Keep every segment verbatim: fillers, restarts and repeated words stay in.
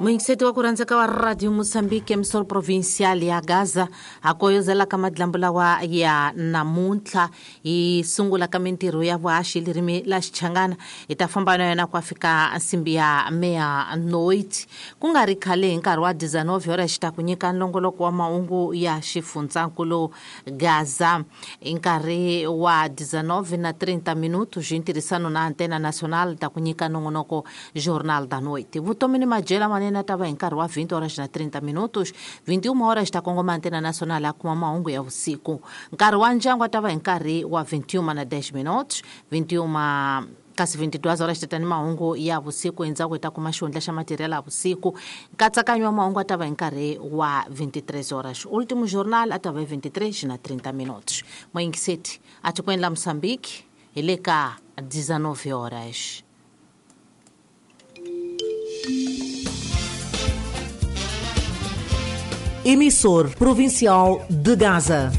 Muyingiseti wa ku rhandzeka wa Radio Mozambique emisor provincial ya Gaza a koyozela ka madlambu lawa ya namuntlha hi sungula ka mintirho ya vuhaxi ririmi la Xichangana hi ta famba na yona ku fika nsimbi ya meia noite ku nga ri khale hi nkarhi wa dezenove horas xi ta ku nyika nlongoloko wa mahungu ya xifundzankulu Gaza hi nkarhi wa dezenove na trinta minutos hi ntirhisano na Antena Nacional ta ku nyika nongonoko Jornal da Noite. Vutomi ni madyela manene ta va hi nkarhi wa vinte horas na trinta minutos, vinte e uma horas ta kongoma Antena Nacional a kuma mahungu ya vusiku. Nkarhi wa ndyangu ta va hi nkarhi wa vinte e uma na dez minutos, vinte e uma kasi vinte e duas horas ta ni mahungu ya vusiku endzhaku hi ta kuma xihundla xa material ya vusiku. Nkatsakanyo wa mahungu a ta va hi nkarhi wa vinte e três horas. Último jornal a ta va hi vinte e três na trinta minutos. Muyingiseti a tikweni la Mozambique hi le ka dezenove horas. Emissor Provincial de Gaza.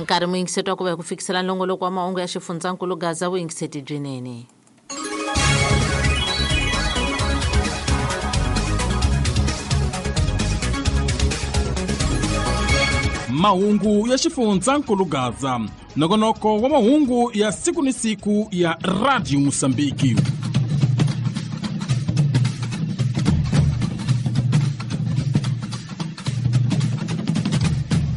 Nkarhi muyingiseti wa ku va hi ku fikisela nlongoloko wa mahungu ya xifundzankulu Gaza vuyingiseti byinene. Mahungu ya xifundzankulu Gaza, nongonoko wa mahungu ya siku ni siku ya Radio Mozambique.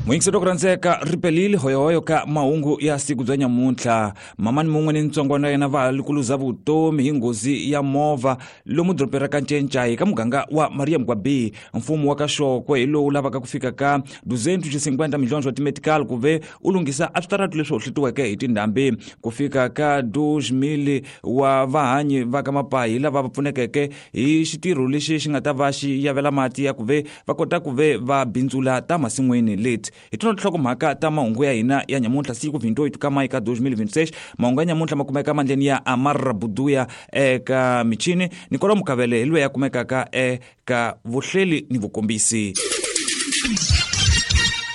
Muyingiseti wa ku rhandzeka ripelile hoyohoyo ka mahungu ya siku bya nyamuntlha. Mamani mun'we ni ntsongwana yena va likuluza vutomi hi nghozi ya movha lomu dorobeni ra Kanchenchai ka muganga wa Maria Mgwabi. Mfumo wa ka Xokwe hi lowu lavaka ku fika ka duzentos e cinquenta milhões wa timetical ku ve u lunghisa a switaratu leswi hohletiweke hi tindhambi. Ku fika ka dois mil wa vahanyi va ka Mapahi lava va pfunekeke hi xitirho lexi xi nga ta va xi yavela mati ya ku ve va kota ku ve va bindzula ta masin'wini leti. Hi tona tinhlokomhaka ta mahungu ya hina ya nyamuntlha siku vinte e oito ka mayi ka dois mil e vinte e seis. Mahungu ya nyamuntlha ma kumeka mandleni ya Amar Buduya eka michini Nicola Mukavele hi loyi ya kumekaka eka vuhleli ni vukombisi.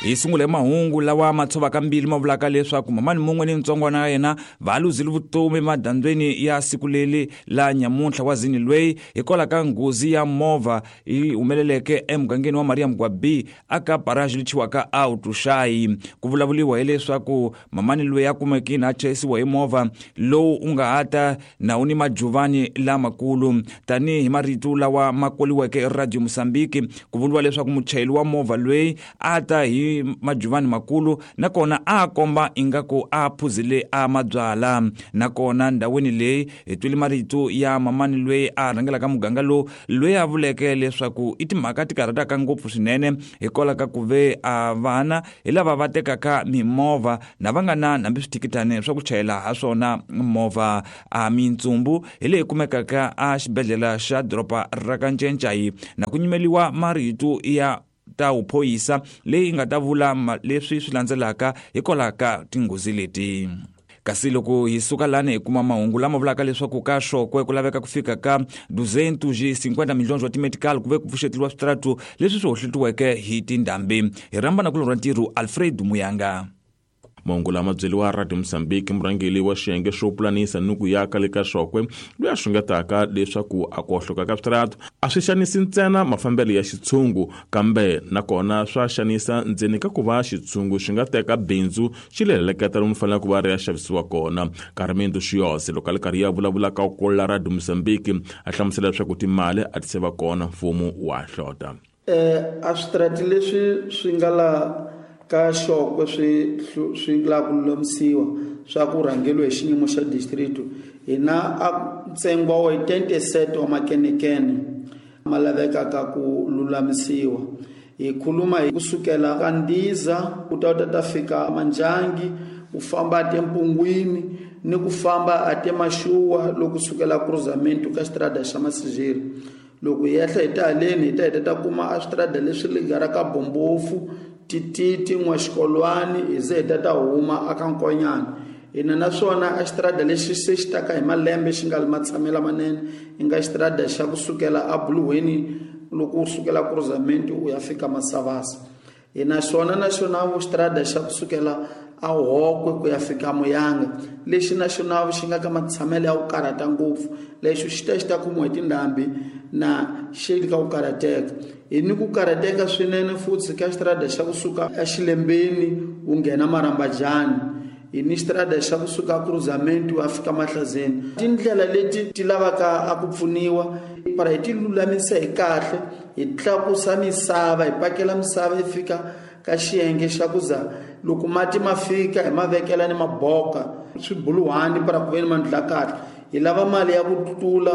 Hi sungule mahungu lawa ma tshovaka mbilu ma vulaka leswaku mamani mun'we ni ntsongwana ya yena va luzile vutomi madyambyeni ya siku leri la nyamuntlha wa zini lweyi hikwalaho ka nghozi ya movha yi humeleleke emugangeni wa Maria Mgwabi aka paraji lichiwaka Autuxayi. Ku vulavuriwa hileswaku mamani loyi a kumekile a chayisiwa hi movha lowu u nga hata na wu ni majuvani lamakulu. Tanihi marito lawa ma koliweke Radio Mozambique, ku vuriwa leswaku muchayeri wa movha loyi a ta hi majuvani makulu nakona a komba ingaku a phuzile a mabyala. Nakona ndhawini leyi hi twile marito ya mamani loyi a rhangelaka muganga lowu loyi a vuleke leswaku i timhaka ti karhataka ngopfu swinene hikwalaho ka ku ve a vana hi lava va tekaka mimovha na va nga na hambi swithikithani swa ku chayela ha swona movha. A mintsumbu hi leyi kumekaka a xibedhlele xa doroba ra Kanchenchai na ku nyimeliwa marito ya ta uphoyisa leyi nga ta vula leswi swi landzelaka hikwalaho ka tinghozi leti. Kasi loko hi suka lani hi kuma mahungu lama vulaka leswaku ka Xokwe ku laveka ku fika ka duzentos e cinquenta milhões wa timetical ku ve ku pfuxeteliwa switaratu leswi swi hohletiweke hi tindhambi. Hi rhamba na kulorha ntirho Alfred Muyanga. Mahungu lama byeriwa Radio Mozambique murhangeri wa xiyenge xo pulanisa ni ku yaka le ka Xokwe loyi a xungetaka leswaku a ku hohloka ka switaratu a swi xanisi ntsena mafambelo ya xitshungu kambe nakona swa xanisa ndzeni ka ku va xitshungu xi nga teka bindzu xi leleketa lomu faneleke ku va ri ya xavisiwa kona. Carmendo Xiyose loko a li karhi ya vulavula ka ku la Radio Mozambique a hlamusela leswaku timali a ti se va kona mfumo wa hlota. A switarati leswi swi nga la ka Xokwe swi swi la ku lulamisiwa swa ku rhangeriwa hi xiyimo xa district hina a ntsengo wa oitenta e sete wa makenekene ma lavekaka ku lulamisiwa. Hi khuluma hi kusukela ka Ndiza ku ta ta ta fika Manjangi u famba a Tempungwini ni ku famba a Temaxuwa loko sukela cruzamento ka xitarata xa Masijeri. Loko hi ehla hi ta haleni hi ta hi ta kuma a switarata leswi ligaraka Bombofu Tititi N'waxikolwani hi ze hi ta ta huma aka Nkonyana. Hina naswona a xitarata lexi se xi taka hi malembe xi nga li matshamelo manene i nga xitarata xa kusukela a Buluweni loko u sukela cruzamento u ya fika Masavasa. Hina xona na xona xitarata xa kusukela a Hokwe ku ya fika Muyanga lexi na xona xi nga ka matshamelo ya ku karhata ngopfu lexi xi ta xi ta kumiwa hi tindhambi na xi ka ku karhateka hi ni ku karhateka swinene futhi ka xitarata xa kusuka eXilembeni wu nghena Marambajani hi ni xitarata xa kusuka Cruzamento wa fika Mahlazeni tindlela leti ti lavaka a ku pfuniwa para hi ti lulamisa hi kahle hi tlakusa misava hi pakela misava yi fika ka xiyenge xa ku za loko mati ma fika hi ma vekela ni maboka swibuluhani para ku ve ni mandla kahle hi lava mali ya ku tlula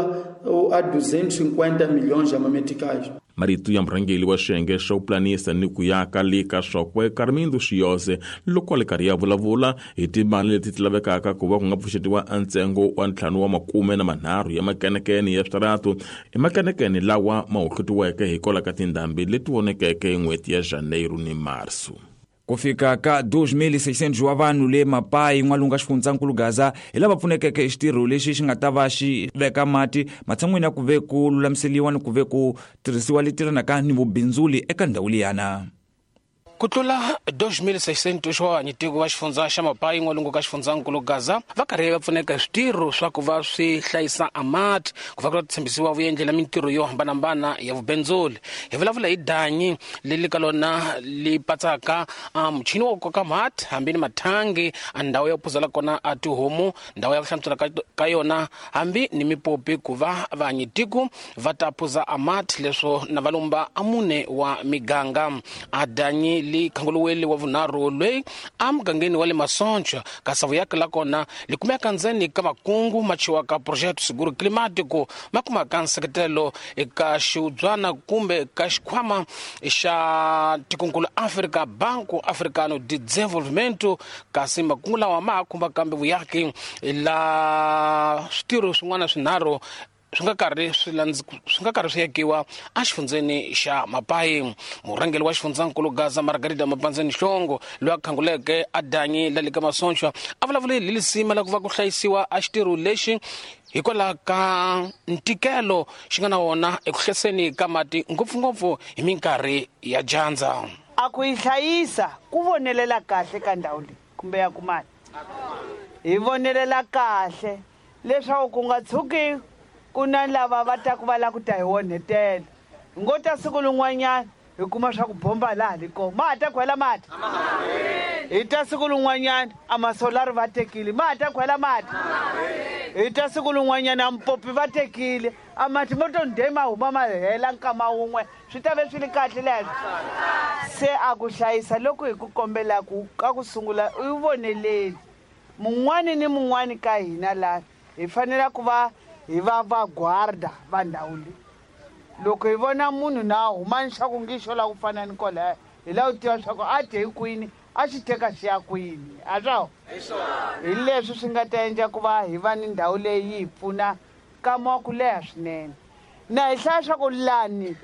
a duzentos cinquenta milhões ya mameticais. Marito ya murhangeri wa xiyenge xo pulanisa ni ku yaka le ka Xokwe Carmindo Xiyose loko a li karhi ya vulavula hi timali leti ti lavekaka ku va ku nga pfuxetiwa ntsengo wa ntlhanu wa makume na manharhu ya makenekene ya switaratu i makenekene lawa ma hohletiweke hikwalaho ka tindhambi leti vonekeke hi n'hweti ya Janeiro ni Marso. Ku fika ka dois mil e seiscentos wa vanhu le Mapai n'walungu ka xifundzankulu Gaza hi lava pfunekeke hi xitirho lexi xi nga ta va xi veka mati matshan'wini ya ku ve ku lulamiseliwa ni ku ve ku tirhisiwa leti tirhanaka ni vubindzuli eka ndhawu liyana. Ku tlula dois mil seiscentos wa vanyitiko va xifundza xa Mapai n'walungu ka xifundzankulu Gaza va karhi va pfuneka hi switirho swa ku va swi hlayisa amati ku va ku tshembisiwa vuyendlela mintirho yo hambanahambana ya vubindzuli. Hi vulavula hi danyi leri ka lona li patsaka muchini wa ku koka mati hambi ni mathangi a ndhawu ya ku phuzela kona a tihomu ndhawu ya ku hlantswela ka yona hambi ni mipopi ku va vanyitiko va ta phuza amati leswo na valumba a mune wa miganga. A danyi li khanguluweli wa vunharhu loyi a mugangeni wa le Masoncha kasi vuyaki la kona li kumeka ndzeni ka makungu ma chiwaka Projeto Seguro Climático ma kumaka nseketelo eka xiudzwana kumbe ka xikhwama xa tikonkulu Africa Banco Africano de Desenvolvimento kasi makungu lawa ma khumba kambe vuyaki la switirho swin'wana swinharhu swi nga karhi swi swi nga karhi swi yakiwa exifundzeni xa Mapai. Murhangeri wa xifundzankulu Gaza Margarida Mapandzeni Hlongo loyi a khanguleke a danyi la le ka Masoncha a vulavule hi lisima la ku va ku hlayisiwa a xitirho lexi hikwalaho ka ntikelo xi nga na wona eku hlayiseni ka mati ngopfungopfu hi minkarhi ya dyandza. A ku yi hlayisa ku vonelela kahle ka ndhawu leyi kumbe ya kumani hi vonelela kahle leswaku ku nga tshuki ku na lava va ta ku va lava ku ta hi onhetela hi ngo ta siku lin'wanyana hi kuma swa ku bomba laha li kona ma ha ta khwela mati hi ta siku lin'wanyana a masolari va tekile ma ha ta khwela mati hi ta siku lin'wanyana a mpopi va tekile a mati mo to nde ma huma ma hela nkama wun'we swi ta ve swi li kahle leswo se a ku hlayisa loko hi ku kombelaku ka ku sungula u yi voneleli mun'wani ni mun'wani ka hina laha hi fanele ku va hi va va guarda va ndhawu leyi loko hi vona munhu na huma xa ku ngi xo lava ku fana ni kwalaya hi lava ku tiva swa ku a dye hi kwini a xi teka xi ya kwini a swo hi leswi swi nga ta endla ku va hi va ni ndhawu leyi yi hi pfuna nkama wa ku leha swinene na hi hlaya swa ku lani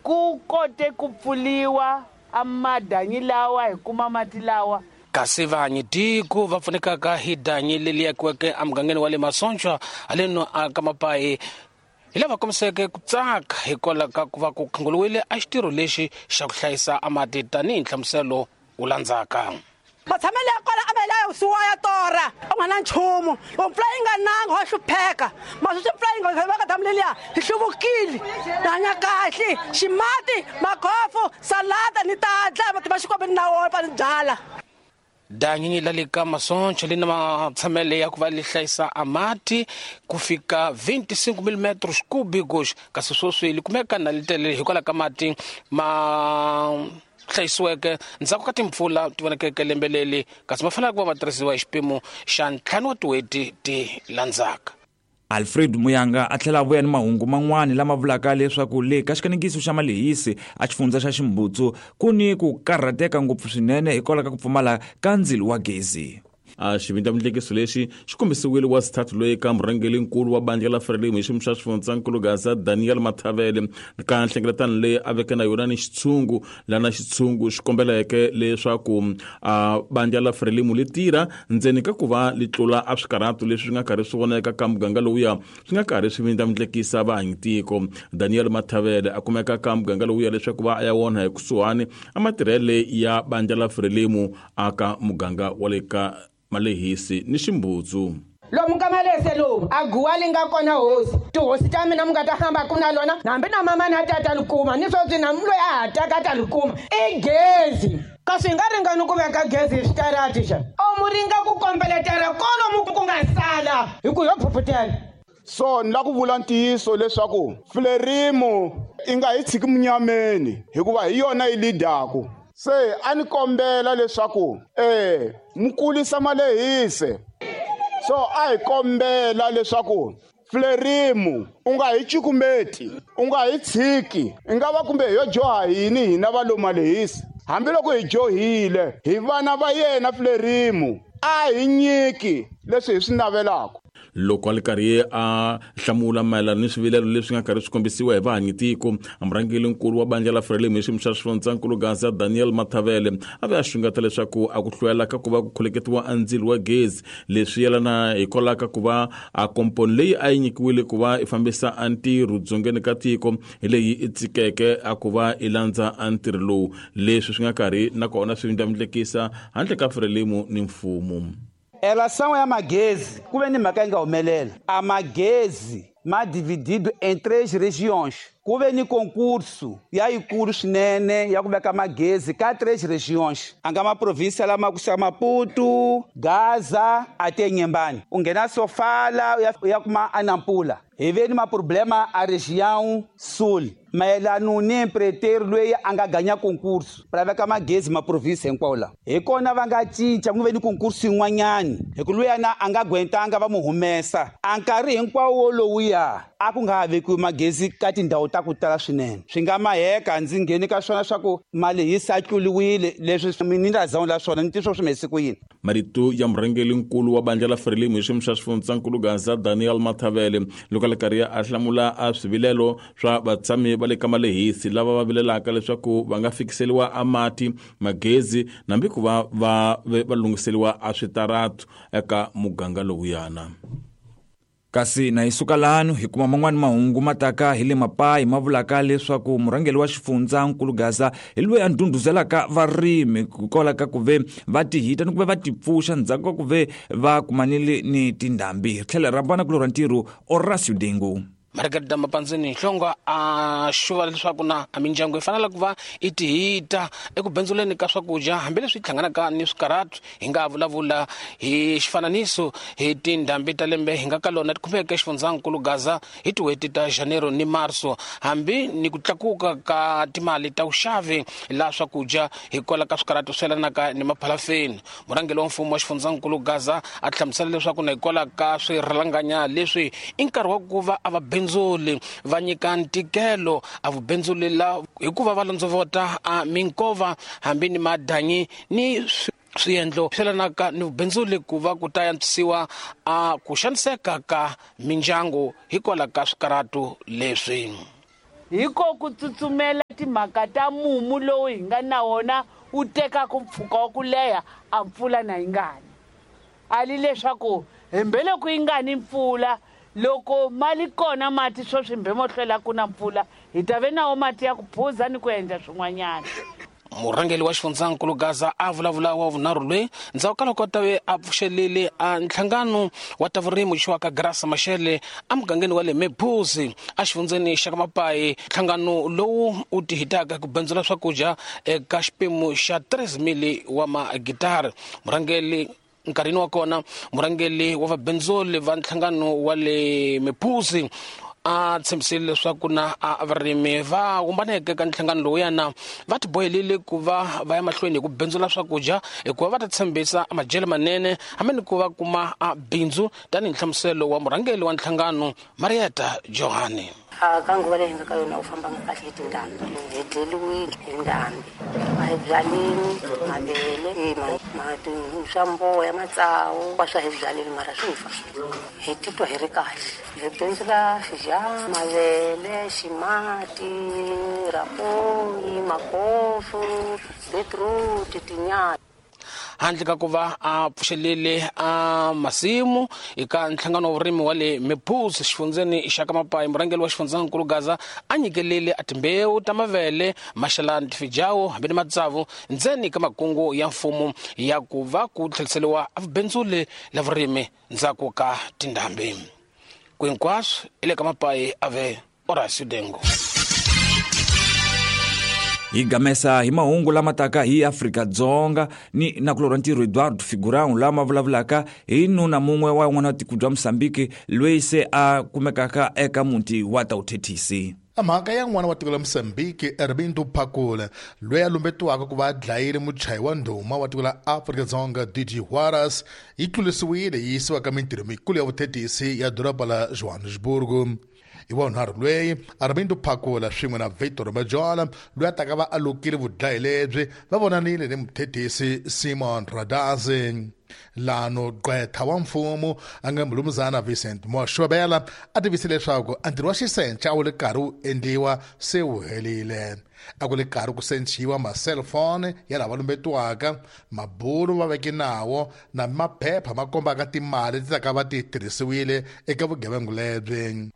ku kote ku pfuliwa a madanyi lawa hi kuma mati lawa. Kasi vanyitiko va pfunekaka hi danyi leri yakiweke emugangeni wa le Masoncha haleno ka Mapai hi lava kombiseke ku tsaka hikwalaho ka ku va ku khanguluwile a xitirho lexi xa ku hlayisa amati tanihi nhlamuselo wu landzaka. Matshamelo ya kona a ma la suwa ya torha a nga na nchumu loko mpfula yi nga nanga wa hlupheka maswi mpfula yi nga va ka damu leliya hi hluvukile ni hanya kahle ximati makhofu salata ni ta dlaya mati ma xikwembu ni na wona pa ni byala. Danyi la le ka Masoncha li na matshamelo ya ku va li hlayisa amati ku fika vinte e cinco milímetros cúbicos kasi sweswi li kumeka na li tele hikwalaho ka mati ma hlayisiweke ndzhaku ka timpfula ti vonakeke lembe leri kasi ma fanele ku va ma tirhisiwa hi xipimo xa ntlhanu wa tin'hweti ti landzaka. Alfred Muyanga a tlhela a vuya ni mahungu man'wani lama vulaka leswaku le ka xikanekiso xa Malehisi a xifundza xa Ximbutsu ku ni ku karhateka ngopfu swinene hikwalaho ka ku pfumala ka ndzilo wa gezi. A xivindlamundlekiso lexi xi kombisiwile wa xithathu loyi ka murhangerinkulu wa bandla la Frelimo hi xiyimo xa xifundzankulu Gaza Daniel Mathavele ka nhlengeletano leyi a veke na yona ni xitshungu lana xitshungu xi kombeleke leswaku a bandla la Frelimo li tirha ndzeni ka ku va li tlula a swikarhato leswi nga karhi swi voneka ka muganga lowuya swi nga karhi swi vindlamundlekisa vaanyitiko. Daniel Mathavele a kumeka ka muganga lowuya leswaku va a ya wona hi kusuhani a matirhele ya bandla la Frelimo aka muganga wa le ka Malehisi ni Ximbudzu. Lomu ka Malehisi lomu a guwa li nga kona hosi tihosi ta mina mi nga ta hamba ku na lona hambi na mama na tata li kuma ni sweswi na loyi a ha taka ta li kuma i gezi kasi hi nga ringani ku veka gezi hi switarati xa o mu ringa ku kombeletela kolomu ku nga sala hi ku yo phuphutela. So ni la ku vula ntiyiso leswaku Frelimo i nga hi tshiki munyameni hikuva hi yona yi lidaku. Se a ni kombela leswaku eh mu kulisa Malehisi. So a hi kombela leswaku Frelimo u nga hi cukumeti, u nga hi tshiki, i nga va kumbe yo joha yini hina va lo Malehisi. Hambiloko hi johile hi vana va yena Frelimo a hi nyiki leswi hi swi navelaka. Loko a li karhi a hlamula mayelana ni swivilelo leswi nga karhi swi kombisiwa hi vahanyitiko, murhangerinkulu wa bandla la Frelimo hi xiyimo xa xifundzankulu Gaza Daniel Mathavele a ve a xungeta leswaku a ku hlwela ka ku va ku kholeketiwa a ndzilo wa gezi leswi yelana hikwalaho ka ku va a komponi leyi a yi nyikiwile ku va i fambisa a ntirho dzongeni ka tiko hi leyi i tsikeke a ku va i landza a ntirho lowu leswi swi nga karhi nakona swi vindlamundlekisa handle ka Frelimo ni mfumo. Relação ya magezi ku ve ni mhaka yi nga humelela a magezi ma dividido em três regiões. Ku ve ni concurso ya yikulu swinene ya ku veka magezi ka três regiões. A nga maprovinsia lama ku Maputo, Gaza ate Nyembani. U nghena Sofala u ya kuma Anampula. Hi ve ni maproblema a região sul. Mayelano ni empreiteiro loyi a nga ganya concurso para veka magezi maprovinsia hinkwawo la. Hi kona va nga cinca ku ve ni concurso yin'wanyani hi ku luyana a nga gwentanga va mu humesa. A nkarhi hinkwawo lowuya a ku nga ha vekiwi magezi ka tindhawu ta ku tala swinene. Swi nga maheka ndzi ngheni ka swona swa ku Malehisi a tluliwile leswi ni nga la swona ni tiswo swi mhesi ku yini. Marito ya murhangerinkulu wa bandla la Frelimo hi xiyimo xa xifundzankulu Gaza Daniel Mathavele loko a li karhi a hlamula a swivilelo swa vatshami va le ka Malehisi lava va vilelaka leswaku va nga fikiseliwa a mati, magezi nambi ku va va va lunghiseliwa a switaratu eka muganga lowuyana. Kasi na hi suka lano hi kuma man'wani mahungu ma taka hi le Mapayi ma vulaka leswaku murhangeri wa xifundzankulu Gaza hi loyi a ndhundhuzelaka varimi hikwalaho ka ku ve va tihita ni ku ve va tipfuxa ndzhaku ka ku ve va kumanile ni tindhambi. Hi tlhela ra vana kulorha ntirho Horacio Dengu. Margarida Mapanzini Hlongwa a xuva leswaku na a mindyangu yi fanele ku va i tihita eku bindzuleni ka swakudya hambileswi hlanganaka ni swikarhato. Hi nga vulavula hi xifananiso hi tindhambi ta lembe hi nga ka lona ti khumbeke xifundzankulu Gaza hi tin'hweti ta Janeiro ni Marso, hambi ni ku tlakuka ka timali ta vuxavi la swakudya hikwalaho ka swikarhato swi yelanaka ni maphalafeni. Murhangeri wa mfumo wa xifundzankulu Gaza a hlamusela leswaku na hikwalaho ka swirhalanganya leswi i nkarhi wa ku va a va bindzuli va nyika ntikelo a vubindzuli la hikuva va londzovota a minkova hambi ni madanyi ni swiendlo swi yelanaka ni vubindzuli ku va ku ta antswisiwa a ku xaniseka ka mindyangu hikwalaho ka swikarhato leswi. Hiko ku tsutsumela timhaka ta mumu lowu hi nga na wona wu tekaka mpfhuka wa ku leha a mpfula na yi ngani. A li leswaku hembeloko yi nga ni mpfula loko mali kona mati sweswi mbhe mo hlwela ku na mpfula hi ta ve nawo mati ya ku phuza ni ku endla swin'wanyana. Murhangeri wa xifundzankulu Gaza a vulavula wa vunharhu loyi ndzhaku ka loko ta ve a pfuxelile a nhlangano wa ta vurimi xiwa ka Graça Machel emugangeni wa le Mephuzi exifundzeni xa ka Mapayi. Nhlangano lowu wu tihitaka ku bindzula swakudya eka xipimo xa three mili wa magitara. Murhangeri nkarhini wa kona murhangeri wa vabindzuli va nhlangano wa le Mephuzi a tshembisile leswaku na a varimi va humbaneke ka nhlangano lowuyana va tibohelile ku va va ya mahlweni hi ku bindzula swakudya hikuva va ta tshembisa madyelo manene hambi ni ku va kuma a bindzu tanihi nhlamuselo wa murhangeri wa nhlangano Marieta Johani. A ka nguva leyi hi nga ka yona u fambanga kahle hi tindhambi, hi dleliwile hi ndhambi, a hi byalini mavele, swa mboya, matsawu swa hi byalini mara swi fa. Hi titwa hi ri kahle, hi bindzula xijana, mavele, ximati, rapoyi, makofu, beetroot, tinyala. Handle ka ku va a pfuxelele a masimu eka nhlangano wa vurimi wa le Mephuzu xifundzeni xa ka Mapayi, murhangeri wa xifundzankulu Gaza a nyikelele a timbewu ta mavele, maxalani, tifijawu hambi ni matsavu ndzeni ka makungu ya mfumo ya ku va ku tlheriseriwa a vubindzuli la vurimi ndzhaku ka tindhambi. Ku hinkwaswo i le ka Mapayi, ave Horacio Dengo. Hi gamesa hi mahungu lama taka hi Afrika-Dzonga ni nakulorhi ntirho Eduardo Figurão lama vulavulaka hi nuna mun'we wa n'wana wa tiko bya Mozambique loyi se a kumekaka eka muti wa Tauthethisi. Mhaka ya n'wana wa tiko la Mozambique Armindo Phakula loyi a lumbetiwaka ku va a dlayile muchayi wa ndhuma wa tiko la Afrika-Dzonga D J Juarez yi tlulisiwile yi yisiwa ka mintirho mikulu ya vuthethisi ya doroba la Johannesburg. Hi vunharhu loyi Armindo Phakula swin'we na Victor Majola loyi a taka va alukile vudlayi lebyi va vonanile ni muthethisi Simon Radazi. Lano gqwetha wa mfumo a nga mulumuzana Vincent Moshobela a tivise leswaku a ntirho wa xisenca a wu le karhi wu endliwa se wu helile. A ku le karhi ku senciwa ma-cellphone ya lava lumbetiwaka, mabulu va veke nawo na maphepha ma kombaka timali ti taka va ti tirhisiwile eka vugevenga lebyi.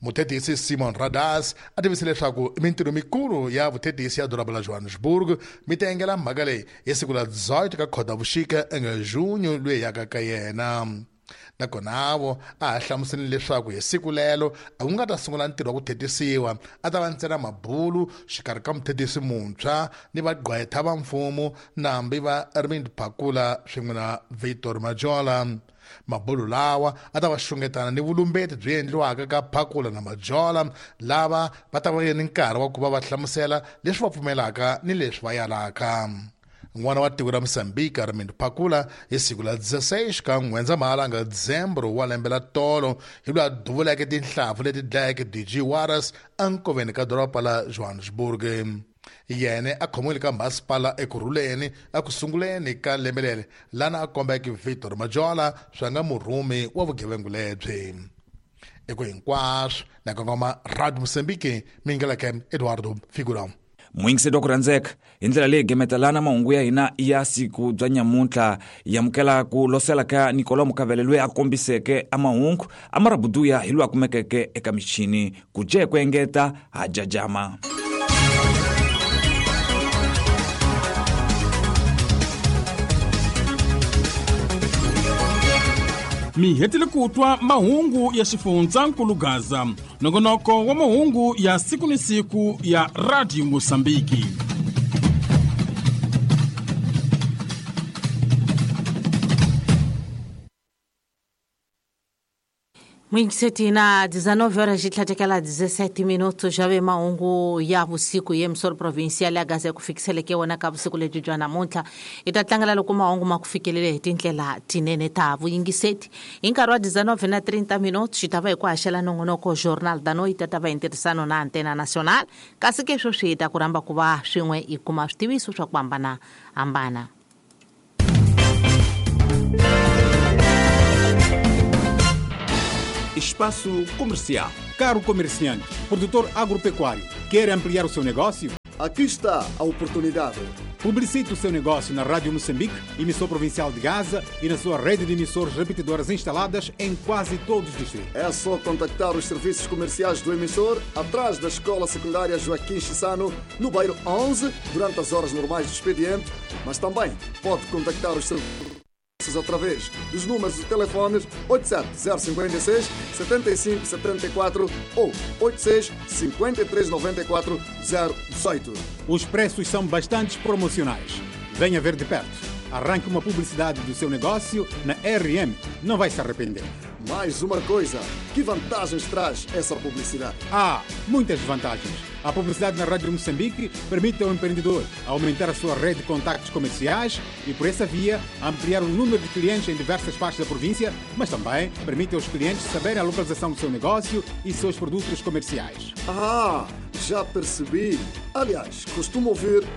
Muthethisi Simon Radas a tivise leswaku mintirho mikulu ya vuthethisi ya doroba la Johannesburg mi ta engela mhaka leyi hi siku la dezoito ka Khotavuxika enga junho loyi yaka ka yena. Nakona vo a ha hlamuseleni leswaku hi siku lelo a ku nga ta sungula ntirho wa ku thetisiwa, a ta va ntsena mabulu xikarhi ka muthethisi muntshwa ni vagqwetha va mfumo nambi va Armindo Phakula swin'we na Victor Majola. Mabulu lawa a ta va xungetana ni vulumbeti byi endliwaka ka Phakula na Majola lava va ta va ni nkarhi wa ku va va hlamusela leswi va pfumelaka ni leswi va yalaka. N'wana wa tiko ra Mozambique Armindo Phakula hi siku la dezesseis ka N'wendzamhala nga Dzembro wa lembe la tolo hi loyi a duvuleke tinhlampfu leti dlayeke D J Juarez enkoveni ka doroba la Johannesburg. Yena a khomiwile ka masipala Ekurhuleni eku sunguleni ka lembe leri lana a kombeke Victor Majola swa nga murhumi wa vugevenga lebyi. Eko hinkwaswo na kongoma Radio Mozambique mingeleke Eduardo Figurão. Muyingiseri wa ku rhandzeka hi ndlela leyi gemetelana mahungu ya hina ya siku bya nyamuntlha hi amukela ku losela ka Nicolau Mukavele loyi a kombiseke a mahungu a marabuduya hi loyi a kumekeke eka michini ku je ku engeta ha jajama. Mi hetile ku twa mahungu ya xifundzankulu Gaza, nongonoko wa mahungu ya siku ni siku ya Radio Mozambique. Muyingiseti na dezenove horas xitlhatekela dezessete minutos já ve mahungu ya vusiku ye emissora provincial ya Gaza ku fikiseleke wona ka vusiku lebyi bya namuntlha. Hi ta tlangela loko mahungu ma ku fikelele hi tindlela tinene ta vuyingiseti. Hi nkarhi wa dezenove na trinta minutos xi ta va hi ku haxela nongonoko Jornal da Noite ta va hi ntirhisano na Antena Nacional, kasi ke sweswi hi ta ku rhamba ku va swin'we hi kuma switiviso swa ku hambanahambana. Espaço Comercial. Caro comerciante, produtor agropecuário, quer ampliar o seu negócio? Aqui está a oportunidade. Publicite o seu negócio na Rádio Moçambique, emissor provincial de Gaza, e na sua rede de emissores repetidoras instaladas em quase todos os distritos. É só contactar os serviços comerciais do emissor atrás da Escola Secundária Joaquim Chissano, no bairro onze, durante as horas normais do expediente, mas também pode contactar os serviços através dos números de telefones oito sete zero cinco seis, sete cinco sete quatro ou oito seis cinco três nove quatro zero um oito. Os preços são bastante promocionais. Venha ver de perto. Arranque uma publicidade do seu negócio na R M. Não vai se arrepender. Mais uma coisa, que vantagens traz essa publicidade? Há muitas vantagens. A publicidade na Rádio Moçambique permite ao empreendedor aumentar a sua rede de contactos comerciais e, por essa via, ampliar o número de clientes em diversas partes da província, mas também permite aos clientes saberem a localização do seu negócio e seus produtos comerciais. Ah, já percebi. Aliás, costumo ouvir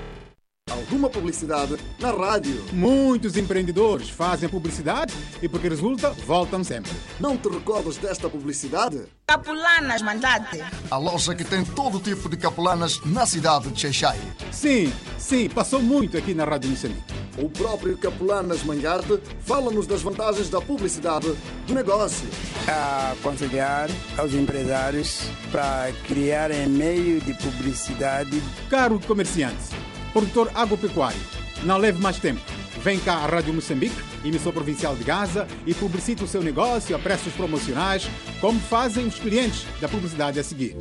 alguma publicidade na rádio. Muitos empreendedores fazem publicidade e, porque resulta, voltam sempre. Não te recordas desta publicidade? Capulanas Mandate. A loja que tem todo tipo de capulanas na cidade de Xaixai. Sim, sim, passou muito aqui na Rádio Moçambique. O próprio Capulanas Mangarte fala-nos das vantagens da publicidade do negócio. A aconselhar aos empresários para criarem meio de publicidade. Caro comerciante, produtor agropecuário, não leve mais tempo. Vem cá à Rádio Moçambique, emissora provincial de Gaza, e publicite o seu negócio a preços promocionais, como fazem os clientes da publicidade a seguir.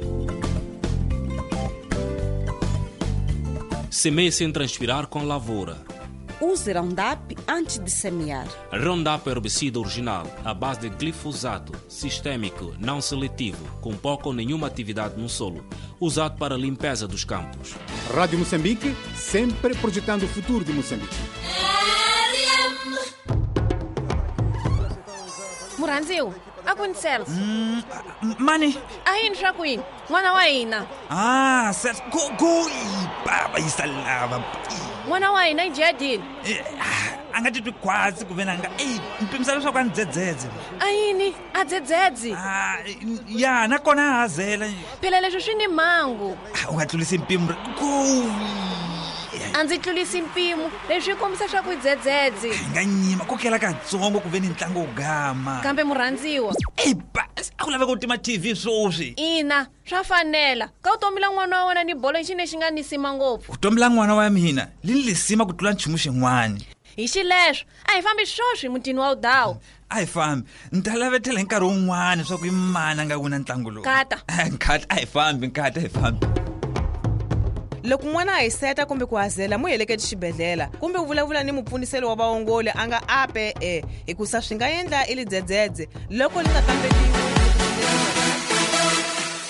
Semeie sem transpirar com lavoura. Use Roundup antes de semear. Roundup é herbicida original, à base de glifosato, sistêmico, não seletivo, com pouca ou nenhuma atividade no solo, usado para a limpeza dos campos. Rádio Moçambique, sempre projetando o futuro de Moçambique. Muranzil, aconteceu. Hum, mani. Aí não queen. Mwana wa ina. Ah, certo. Go go. Baba isalava. Mwana wa ina ijadini. Angati twikwazi kuve nanga. Ei, mpimisa leswaku a ni dzedzedze. Ayini, a dzedzedze. Ah, ya, nakona a hazela. Phela leswi swi ni mhangu. U nga tlulisi mpimo. Go. A ndzi tlulisi mpimo, leswi kombisa swa ku dzedzedze. Nga nyima ku kela katsongo ku ve ni ntlangu wo gama. Kambe murhandziwa. Ei, ba, a ku laveka ku tima T V sweswi. Ina, swa fanela. Ka vutomi la n'wana wa wena ni bolo xi lexi nga nisima ngopfu. Vutomi la n'wana wa mina li ni lisima ku tlula nchumu xin'wana. Hi xileswo, a hi fambi swoswi mutini wa Udawu. A hi fambi. Ni ta lavetela hi nkarhi wun'wana swa ku i mani a nga wina ntlangu lowu. Nkata. Nkata, a hi fambi, nkata, a hi fambi. Loko n'wana a hiseta kumbe ku hazela mu heleketi xibedhlele kumbe u vulavula ni mupfuniselo wa vaongoli a nga ape e hikusa swi nga endla i lidzedzedze loko li nga kamberiwi.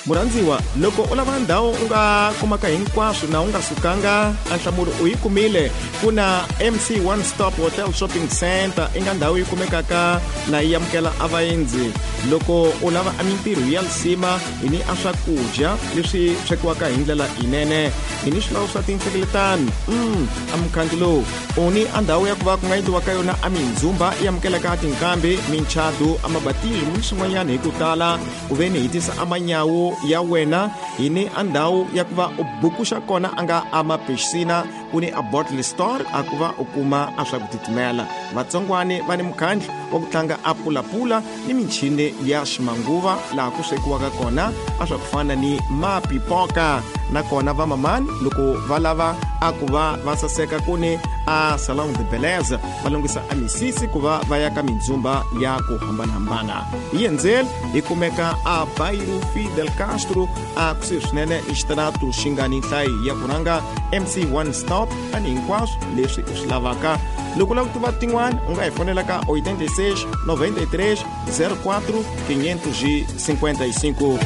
Murhandziwa, loko u lava ndhawu u nga kumaka hinkwaswo na u nga sukanga, a nhlamulo u yi kumile. Ku na M C One Stop Hotel Shopping Center i nga ndhawu yi kumekaka na yi amukela a vaendzi. Loko u lava a mintirho ya lisima hi ni a swakudya leswi swekiwaka hi ndlela yinene, hi ni swilawu swa tinhlengeletano. Mm, a mukhandlu lowu u ni a ndhawu ya ku va ku nga endliwaka yona a mindzumba yi amukelaka tinkambi, minchadu, a mabatismo ni swin'wanyana hi ku tala. Ku ve ni hi tisa a manyawu ya wena, hi ni a ndhawu ya ku va u bukuxa kona a nga a mapixina, ku ni a bottle store a ku va u kuma a swa ku titimela. Vatsongwani va ni mukhandlu wa ku tlanga a pulapula ni michini ya ximanguva laha ku swekiwaka kona a swa ku fana ni mapipoka. Nakona va mamani loko va lava a ku va va saseka ku ni a salon de beleza va lunghisa a misisi ku va va ya ka mindzumba ya ku hambanahambana. Hi endzeli hi kumeka a Bairro Fidel Castro a kusuhi swinene ni xitarato xi nga ni nhlayo ya ku rhanga M C One Stop a ni hinkwaswo leswi u swi lavaka. Loko u lava ku tiva tin'wana u nga hi fonela ka oitenta e seis, noventa e três, zero quatro, quinhentos e cinquenta e cinco.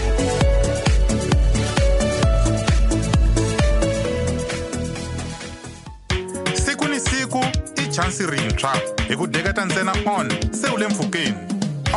Siku ni siku i chansi rintshwa hi ku deketa ntsena on se u le mpfhukeni.